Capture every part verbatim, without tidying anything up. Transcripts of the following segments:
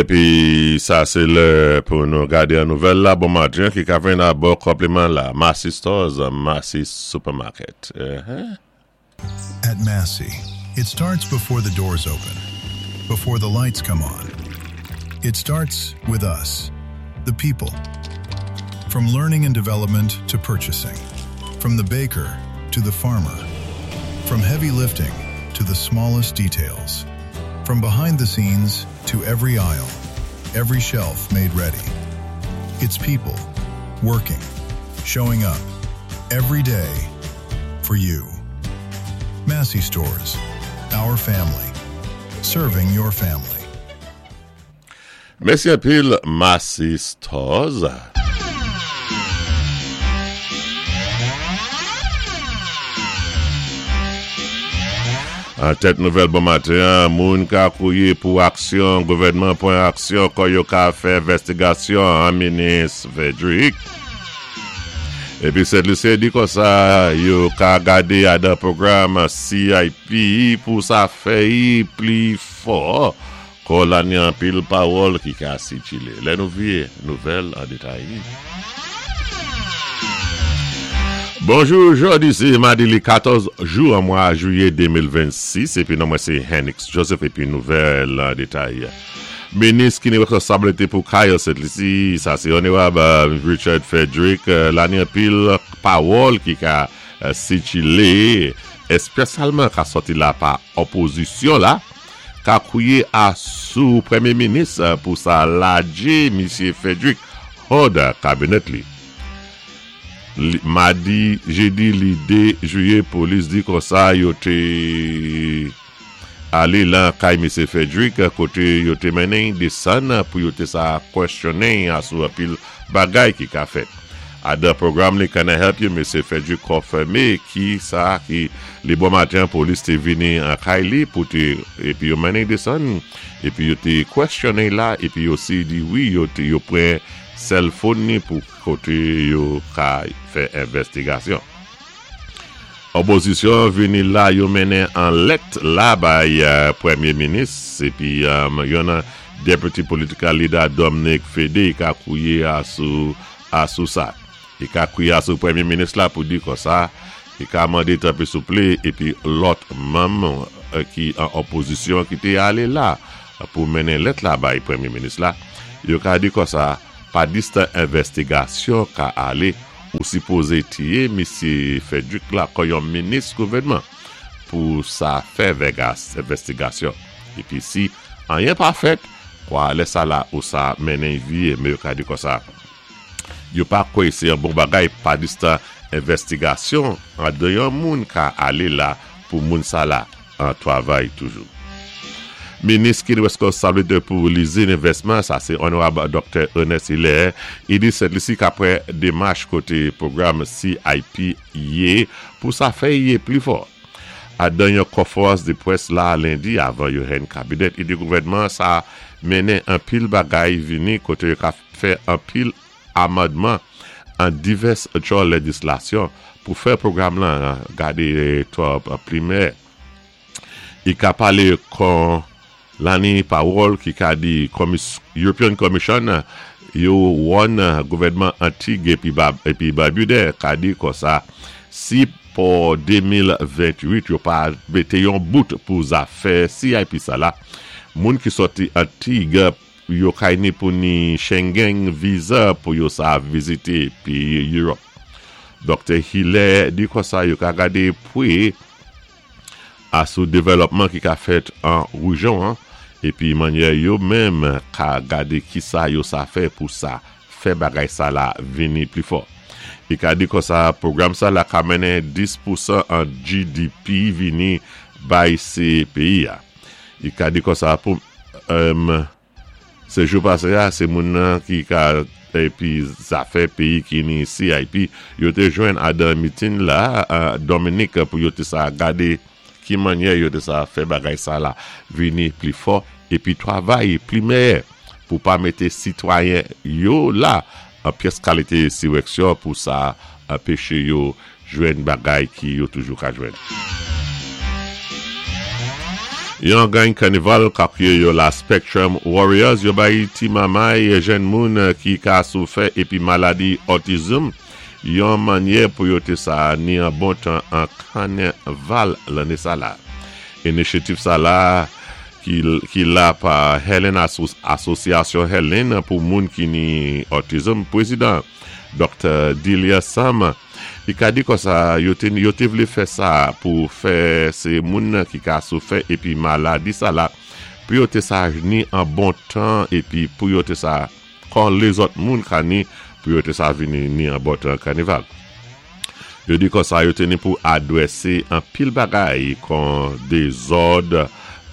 Épi sa sé lè pou nou gadé an nouvèl la bon maten ki ka vin a bon konpliman la Massy Stores, Massy Supermarket. Uh-huh. At Massy, it starts before the doors open, before the lights come on. It starts with us, the people. From learning and development to purchasing, from the baker to the farmer, from heavy lifting to the smallest details, from behind the scenes to every aisle, every shelf made ready. It's people working, showing up every day for you. Massy Stores, our family, serving your family. Mèsi anpil Massy Stores. An tèt nouvèl bon maten, moun ka kwié pou aksyon, gouvèdman pwan aksyon kon yo ka fè envèstigasyon an minis Frederick. Épi Sent Lisi di konsa, yo ka gadé adan pwogram C I P pou sa fè y pli fò kon la ni anpil pawòl ki ka sikilé. Lè nou vié nouvèl an détay. Bonjou, jòdi sé madi li katòz jou an mwa jwiyé de mil vennsis épi non mwen sé Henix Joseph épi nouvèl an détay. Minis ki ni wèsponsabilité pou kay Sent Lisi, sa sé Onorab Richard Frederick, la ni anpil pawòl ki ka sikilé, èspesyalman ka sòti la pa opozisyon la, ka kwié a sou pwémyé minis pou sa lajé misyé Frederick hò de kabinèt li. Madi, jédi li dé jwiyé, polis di konsa yo té alé lan kay misyé Frederick koté yo té mennen désann pou yo té sa kwèsyonnen asou anpil bagay ki ka fèt. Adan pwogram li Can I Help You, Misyé Frederick konfimé ki sa ki li bon maten polis té vini an kay li pou té épi yo mennen désann épi yo té kwèsyonnen la épi osi di wi yo té yo pran cell phone ni pou koté yo ka fè envèstigasyon. Opozisyon vini la yo mennen an lèt la bay uh, pwémyé minis épi um, yon nan deputy political leader Dominic Fedee ka kwié a sou a sou sa. I ka kwié a sou pwémyé minis la pou di konsa, i ka mandé tanpwi souplé épi lòt manm euh, ki an opozisyon ki té alé la pou mennen lèt la bay pwémyé minis la, yo ka di konsa pa distan envèstigasyon ka alé ou sipozé tiyé misyé Frederick la kon yon minis gouvèdman pou sa fè vegas envèstigasyon. Épi si anyen pa fèt, kwa lè sa la ou sa mennen vié, mé yo ka di konsa. Yo pa kwè sé yon bon bagay pa distan envèstigasyon an de yon moun ka alé la pou moun sa la an twavay toujou. Minis ki wèsponsabilité pou lizin envèsman, sa sé Onorab Doktè Ernest Hilaire, i di Sent Lisi ka pwan démach koté pwogram C I P yé pou sa fè yé pli fò. Adan yon konfwérans dé pwès la lendi avan yo hen kabinèt, i di gouvèdman sa mennen anpil bagay vini koté yo ka fè anpil amandman an divès tjò léjislasyon pou fè pwogram lan gadé twò pli meyè. I ka palé kon lani pawòl ki ka di European Commission yo wòn gouvèdman Antig épi, épi Babidè ka di konsa si pou de mil vennwit yo pa mété yon bout pou zafè C I P sa la, moun ki sòti Antig yo kay ni pou ni Schengen visa pou yo sa vizité péyi Europe. Doktè Hilaire di konsa yo ka gadé pwé asou dévèlòpman ki ka fèt an woujon an, épi mannyè yo menm ka gadé ki sa yo sa fè pou sa fè bagay sa la vini pli fò. I ka di konsa pwogram sa la ka mennen dis pousan an G D P vini bay sé péyi a. I ka di konsa pou um, sé jou pasé a, sé moun nan ki ka épi zafè péyi ki ni C I P yo té jwenn adan meeting la uh, Dominique pou yo té sa gadé ki mannyè yo té sa fè bagay sa la vini pli fò épi twavay pli meyè pou pa mété sitwayen yo la an pyès kalité siwèksyon pou sa anpéché yo jwenn bagay ki yo toujou ka jwenn. Yon gang kanival ka kwiyé yo la Spectrum Warriors, yo bay ti mamay jenn moun ki ka soufè épi maladi autism, yon manyè pou yo té sa ni an bon tan an kanaval lanné sa la. Inisyativ sa la ki, ki la pa Helen Asosyasyon Helen pou moun ki ni autism, pwézidan Doktè Delia Sam, i ka di konsa yo té, yo té vlé fè sa pou fè sé moun ki ka soufè épi maladi sa la pou yo té sa ni an bon tan épi pou yo té sa kon lézòt moun ka ni pou yo té sa vini ni an bon tan kanival. Yo di konsa yo té ni pou adwésé an pil bagay kon dézòd,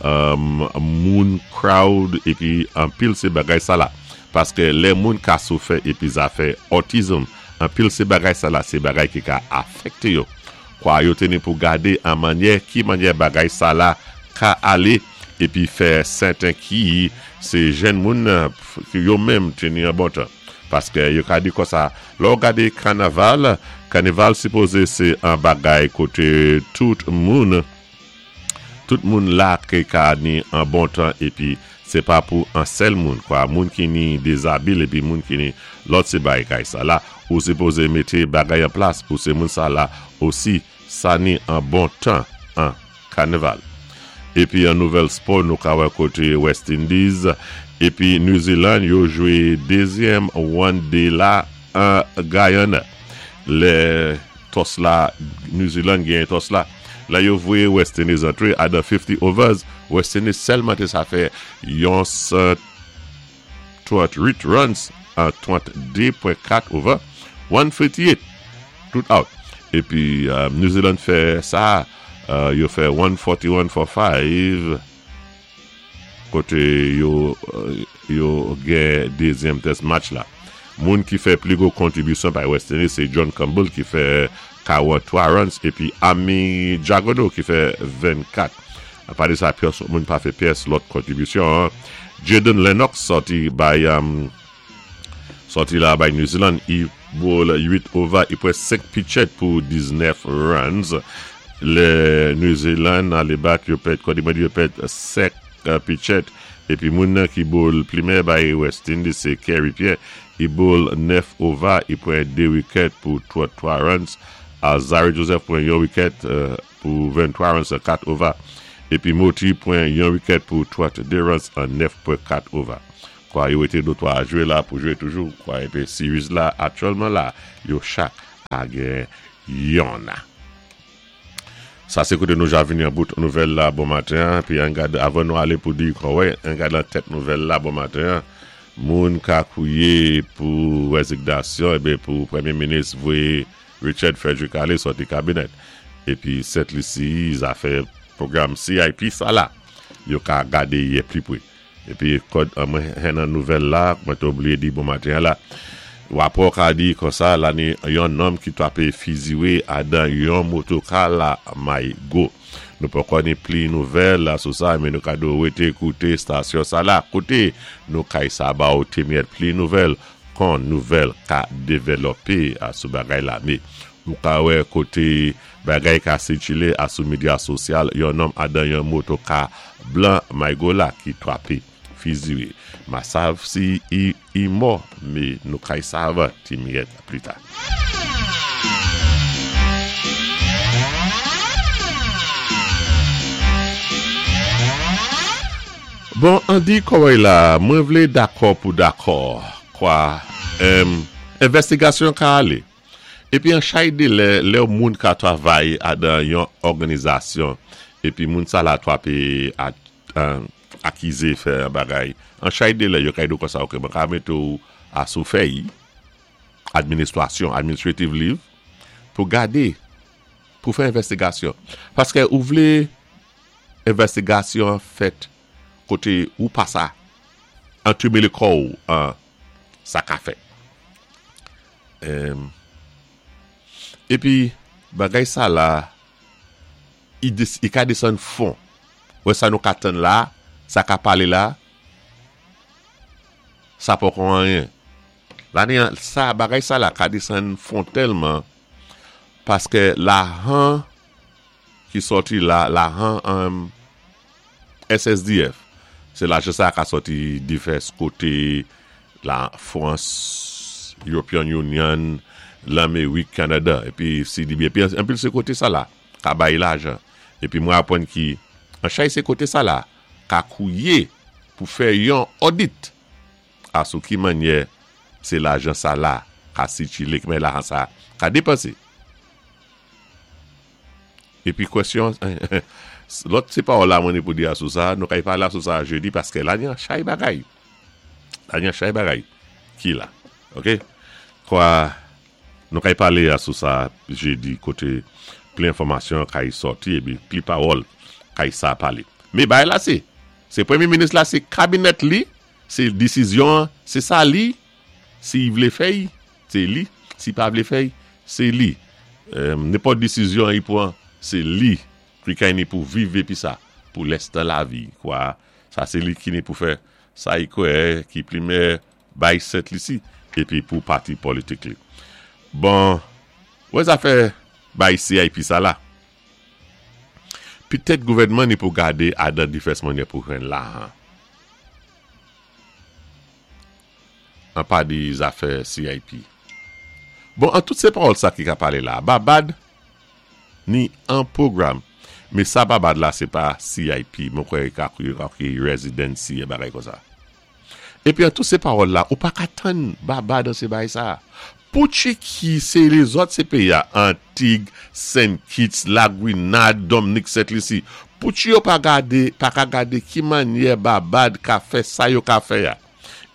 um, moun crowd épi an pil sé bagay sa la. Paské lè moun ka soufè épi zafè autism, an pil sé bagay sa la, sé bagay ki ka afèkté yo. Kwa yo té ni pou gadé an manyè, ki manyè bagay sa la ka alé, épi fè sèten ki sé jenn moun ki yo menm té ni an bon tan. Paské yo ka di konsa, lè ou gadé kanaval, kanival sipozé sé an bagay koté tout moun, tout moun la ki ka ni an bon tan épi sé pa pou an sèl moun, kwa moun ki ni dizabil épi moun ki ni lòt sé bagay sa la, ou sipozé mété bagay an plas pou sé moun sa la osi sa ni an bon tan an kanival. Épi an nouvèl spò nou ka wè koté West Indies épi New Zealand yo jwé dézyèm one day la an Guyana. Lè toss la, New Zealand genyen toss la. La yo voyé West Indies antré adan fifty overs, West Indies sèlman té sa fè yon trant-uit runs an tranndé pwen kat over, one fifty-eight tout out. Épi euh, New Zealand fè sa, euh, yo fè one forty-one for five koté yo euh, yo gen dézyèm test match la. Moun ki fè pli gwo kontribisyon pa West Indies, sé John Campbell ki fè karantwa runs épi Ami Jagodo ki fè vennkat. Apa de sa, pyès moun pa fè pyès lòt kontribisyon. Jaden Lennox sòti bay um, sòti la bay New Zealand, i bowl uit over, i pran senk pitched pou diznèf runs. Lè New Zealand alé bat, yo pèd, kwa di mwen di yo pèd senk uh, pitched, épi moun nan ki bowl pli meyè bay West Indies, sé Kerry Pierre, i bowl nèf over, i pran de wicket pou trantwa runs. Alzarri Joseph pran yon wicket uh, pou venntwa runs an kat over. Épi Moti pran yon wicket pou tranndé runs an nèf pwen kat over. Kwa yo été dotwa a jwé la pou jwé toujou. Kwa épi series la aktyèlman la, yo chak a gen yon. Sa sé koté nou ja vini an bout nouvèl la bon maten. Pi an gade, avan nou alé pou di kwa wè, an gade lan tèt nouvèl la bon maten. Moun ka kwié pou rézignasyon, ébé pou Pwémyé Minis voyé Richard Frederick alé sòti kabinèt. Épi Sent Lisi, zafè pwogram C I P sa la, yo ka gadé yé pli pwé. Épi kòd mwen hen nan nouvèl la, mwen té oubliyé di bon maten la, wapò ka di konsa la ni yon nonm ki twapé fiziwé adan yon motoka la Marigot. Nou poko ni pli nouvèl la sou sa, men nou ka do wété kouté stasyon sa la. Kouté nou kay sa ba ou témyèt pli nouvèl kon nouvèl ka dévlopé a sou bagay la. Mé nou ka wè koté bagay ka sikilé a sou medya sosyal, yon nonm adan yon motoka blan Marigot la ki twapé fiziwé. Ma sav si i, i mò, mé nou kay sav ti miyèt pli ta. Bon, an di kòwè la, mwen vlé dakò pou dakò, kwa em, envèstigasyon ka alé. Épi an chay dé lè, lè moun ka travay adan yon òganizasyon, épi moun sa la twapé a, an, akizé fè an bagay. An chay dé lè, yo kay do konsa, ok, mwen ka mété ou a sou fèy, administrasyon, administrative leave, pou gadé, pou fè envèstigasyon. Paské ou vlé envèstigasyon fèt koté ou pa sa antumélé kò ou an sa ka fèt. Em, épi bagay sa la, i, des, i ka désann fon. Wè sa nou ka tann la, sa ka palé la, sa poko anyen. La ni an, sa bagay sa la ka désann fon tèlman paské lahan ki sòti la, lahan um, S S D F, sé lajan sa ka sòti divès koté, la Frans, European Union, Lamérik, Kanada, épi C D B, épi anpil sé koté sa la, ka bay lajan. Épi mwen apwann ki, an chay sé koté sa la, ka kouyé pou fè yon audit, asou ki mannyè sé lajan sa la, ka sikilé, ki men lajan sa, ka dépansé. Épi kwèsyon, lòt sé pawòl la mwen ni pou di asou sa, nou kay pala sou sa jedi, paské la ni an chay bagay. La ni an chay bagay. Ki la. Ok? Kwa, nou kay palé asou sa jedi, koté pli enfòmasyon kay sòti, épi pli pawòl kay sa palé. Mé bay la sé, sé pwémyé minis la, sé kabinèt li, sé désizyon, sé sa li, si i vlé fè, sé li, si pa vlé fè, sé li. Nenpòt désizyon i pwan, sé li, ki kay ni pou viv épi sa, pou lèstan lavi, kwa, sa sé li ki ni pou fè, sa i kwè, ki pli meyè bay Sent Lisi, épi pou pati politik li. Bon, wè zafè bay C I P sa la. Pitèt gouvèdman ni pou gadé adan divès mannyè pou jwenn lajan. An pa di zafè C I P. Bon, an tout sé pawòl sa ki ka palé la, Babad ni an pwogram. Mé sa Babad la sé pa C I P, mwen kwè ka ki residency é bagay kon sa. Épi an tout sé pawòl la, ou pa ka tann Babad an sé bay sa. Pouchi ki sé lézòt sé péyi a, Antig, Saint Kitts, La Grenade, Dominique, Saint Lucie. Pouchi yo pa gade, pa ka gade ki mannyè Babad ka fè sa yo ka fè ya.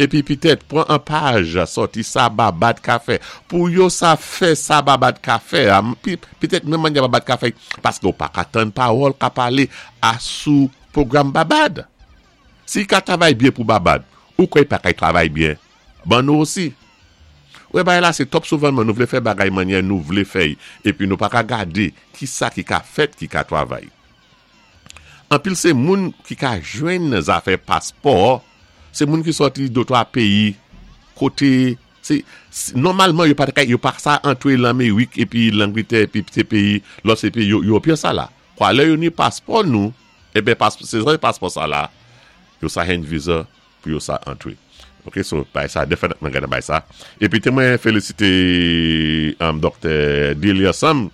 Épi pitèt, pwan an paj sòti sa Babad ka fè. Pou yo sa fè sa Babad ka fè, pitèt menm mannyè Babad ka fè, paské ou pa ka tann pawòl ka palé asou pwogram Babad. Si ka travay byen pou Babad, ou kwè pa ka travay byen, ban nou osi. Wè bagay la, sé twòp souvan nou vlé fè bagay mannyè nou vlé fè, épi nou pa ka gadé ki sa ki ka fèt ki ka travay. Anpil sé moun ki ka jwenn zafè paspò, sé moun ki sòti dotwa péyi koté, sé, nòmalman yo pa yo pa sa antré Lamérik épi Langlétè épi sé péyi, lòt sé péyi Ewopéen sa la. Kwa lè yo ni paspò nou, eben sé paspò sa la, yo sa jwenn viza pou yo sa antré. Ok, so bay sa, definitely gonna bay sa. Épi té mwen félisité um, Doktè Delia Sam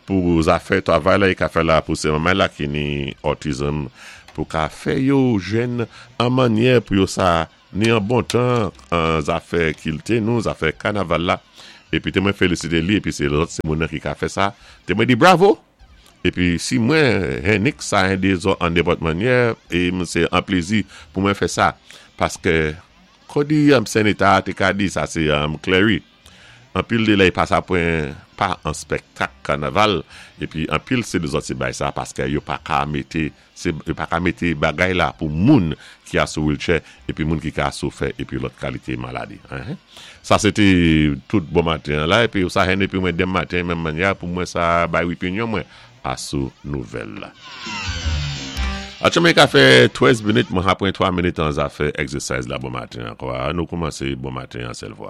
pou zafè travay la, i ka fè la pou sé manman la ki ni autism, pou ka fè yo jwenn an mannyè pou yo sa ni an bon tan an zafè kilti nou, zafè kanaval la. Épi té mwen félisité li, épi sé lòt sé moun ki ka fè sa. Té mwen di bravo! Épi si mwen Henrik sa en de an nenpòt mannyè, é sé an plézi pou mwen fè sa. Paské kodi um, Seneta té ka di sa sé um, Clary. Anpil de la i pa sa pwan pa an spektak kanaval, épi anpil sé de zòt sé bay sa, paské yo pa ka mété, yo pa ka mété bagay la pou moun ki a sou wheelchair, épi moun ki ka sou fè, épi lòt kalité maladi. Sa sé té tout bon maten la, épi sa hen épi mwen dem maten, menm mannyè, pou mwen sa bay opinyon mwen asou nouvèl la. Atchoumen ka fè trèz minit, mwen apwen twa minit an zafè exercise la bon maten ankò. Nou koumansé bon maten an sèl fwa.